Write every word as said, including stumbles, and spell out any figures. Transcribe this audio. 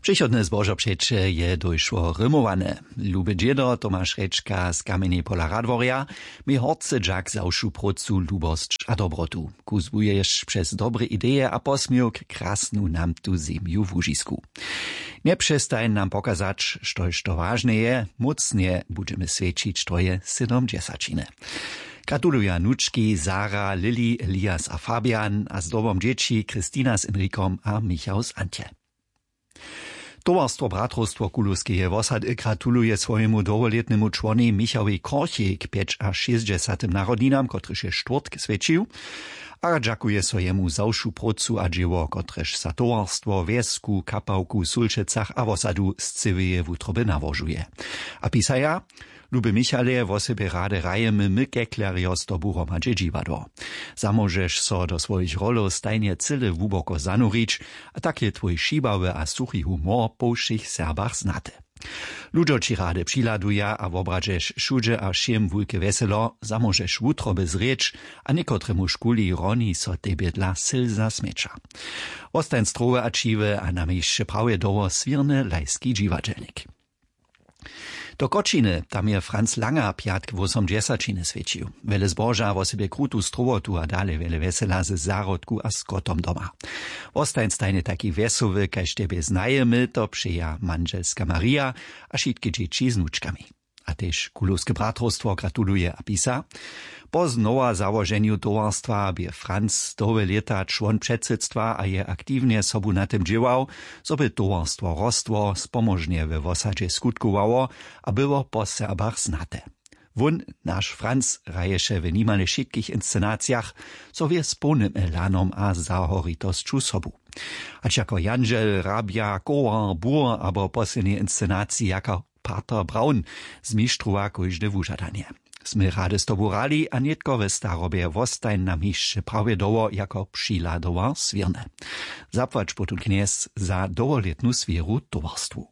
Přichodne zbožopřeće je dójšło rymowane. Luby dźědo Tomaš Rječka z Kamjenjepola Radworja mi horcy dźak za wšu prócu, lubosć a dobrotu. Kuzłuješ přez dobre ideje a posměwk krasnu namtu zemju w łužisku. Njepřestań nam pokazać, štož to wažne je, mócnje budźemy swjećić twoje sydomdźesaćiny. Gratuluja nučki Sara, Lili, Elias a Fabian a zdobom dźěći Kristina z Enrikom a Michał z Antje. Towarstwo Bratrowstwo Kulowskeje wosady gratuluje swojemu dołholětnemu čłonej Michałej Korchej k pjećašěsćdźesatym narodninam, kotryž je štwórtk swjećił, a dźakuje so jemu za wšu prócu a dźěło, kotrež za towarstwo, wjesku, kapałku w Sulčecach a wosadu z cyłeje wutroby nałožuje. A pisaja: Luby Michale, wosebje rady hrajemy my keklerjo z tobu hromadźe dźiwadło. Zamóžeš so do swojich rolow stajnje cyle hłuboko zanurić, a tak je twój šibawy a suchi humor po wšěch Serbach znaty. Ludźo ći rady přihladuja a wobradźeš wšudźe a wšěm wulke wjeselo. Zamóžeš wutroby zrěć a někotremuž kuli roni so tebje dla syl zasmjeća. Wostań zdrowy a ćiwy a na měsće prawje dołho swěrny lajski dźiwadźelnik. Do Kočiny, tam je Franz Langer pjatk wósomdźesaćiny swjećił. Wjele zboža, wosebje krutu strowotu a dale wjele wjesela ze zahrodku a z kotom doma. Wostań stajnje taki wjesoły, kaž tebje znajemy, to přeja mandźelska Marija a wšitke dźěći z nučkami. A tež Kulowske bratrowstwo gratuluje a pisa: Po znowa załoženju towarstwa bě Franz dołhe lěta čłon předsydstwa a je aktiwnje sobu na tym dźěłał, zo by towarstwo rostło, spomóžnje we wosadźe skutkowało a było po Serbach znate. Wón, naš Franz, hraješe w nimale wšitkich inscenacijach, zo wě z połnym elanom a zahoritosću sobu. Hač jako jandźel, hrabja, kołar, bur abo w poslednjej inscenaciji jako Pater Braun zmištrowa kóžde wužadanje. Smy rady z tobu hrali a nětko we starobje wostań na měsće prawje dołho jako přihladowa swěrny. Zapłać potom, knjez, za dołholětnu swěru towarstwu.